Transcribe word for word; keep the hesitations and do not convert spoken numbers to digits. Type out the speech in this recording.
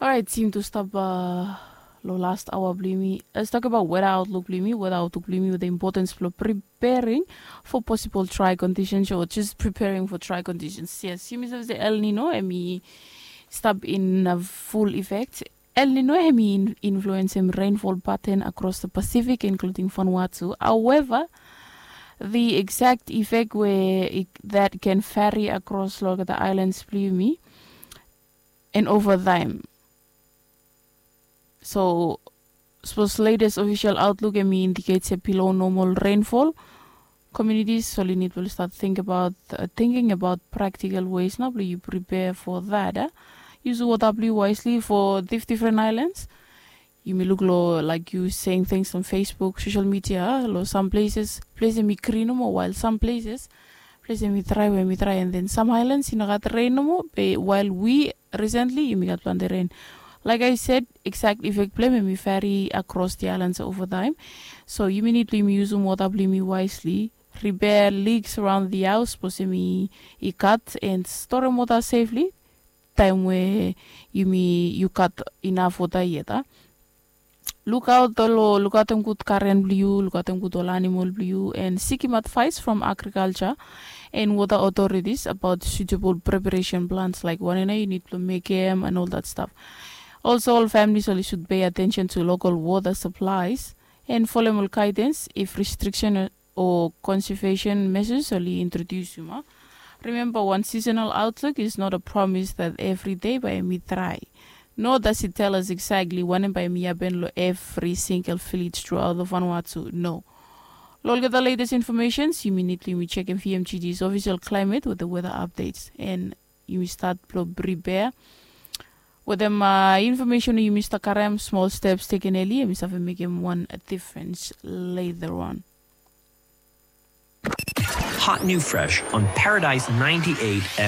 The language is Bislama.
Orait, yumi tu stap long last aoa blong yumi. Let's talk about weather outlook blong yumi. Weather outlook blong yumi with the importance blong preparing for possible dry conditions or just preparing for dry conditions. Yes, yumi save se El Nino em i stap in full effect. El Nino em i influensem rainfall pattern across the Pacific, including Vanuatu. However, the exact effect where it, that can vary across long the islands blong yumi and over time. So, suppose latest official outlook em i indicate se below normal rainfall. Communities oli nid blong start think about uh, thinking about practical ways na blong yu prepare for that. Uh. Use water blong yu wisely for dif different islands. Yumi luk long like yu saying things on Facebook, social media, long some places place em i green nomo, while some places place em i dry, we em i dry, and then some islands i no gat rain nomo, be while we recently yumi gat planti rain. Like I said, exact effect blong em i vary across the islands over time. So yumi nid blong yumi usum water blong yumi wisely, repair leaks around the house, suppose em i cut, and store em water safely time we yumi yu gat enough water yet. Lukaot olo lukaotem gud garen blong yu, lukaotem gud ol animal blong yu, and sikim advice from agriculture and water authorities about suitable preparation plans like wanem nao yu nid blong mekem and all that stuff. Also, ol families oli should pay attention to local water supplies and folem ol guidance if restriction o conservation measures oli introduce yuma. Remember, one seasonal outlook is not a promise that every day bae mi dry. Nor does it tell us exactly wanem bae mi happen long every single village throughout the Vanuatu. No. Long olgeta latest informations yumi nid blong yumi chekem V M G D's official climate with the weather updates, and yumi start blong prepare. Wetem uh, information we yumi start karem, small steps taken early, yumi save mekem one difference later on. Hot new fresh on Paradise ninety-eight